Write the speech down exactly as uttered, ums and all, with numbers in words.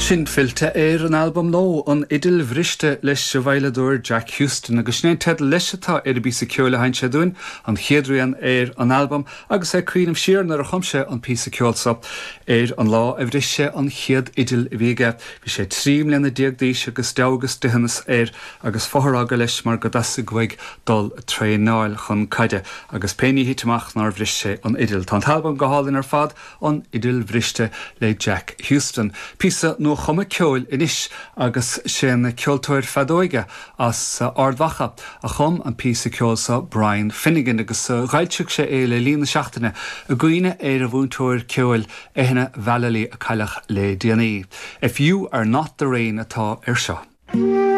Sin fillte ar an albam nó an Fhidil Bhriste leis an veidhleadóir Jack Houston agus sin é teideal leis atá ar an bpíosa ceoil a sheinn sé dúinn an chéad rian ar an albam agus é ag cuimhneamh siar nuair a chum sé an píosa ceoil seo ar an lá a bhris sé an chéad fhidil a bhí aige. Bhí sé trí bliana déag d'aois agus deabhadh agus dithiúnas air agus fothar a fhágáil leis mar go dteastaigh uaidh dul traenáil chun caide agus pé ní thit amach nár bhris sé an fhidil. Tá an t-albam go hálainn ar fad an Fhidil Bhriste le Jack Houston. Píosa nuachumtha ceoil anois agus sé an ceoltóir feadóige as Ard Mhacha a chum an píosa ceoil seo Brian Finnegan agus d'fhoilsigh sé é le linn na seachtaine i gcuimhne ar a mhúinteoir ceoil Eithne Vallely a cailleadh le déanaí. If you are not the rain atá ar seo.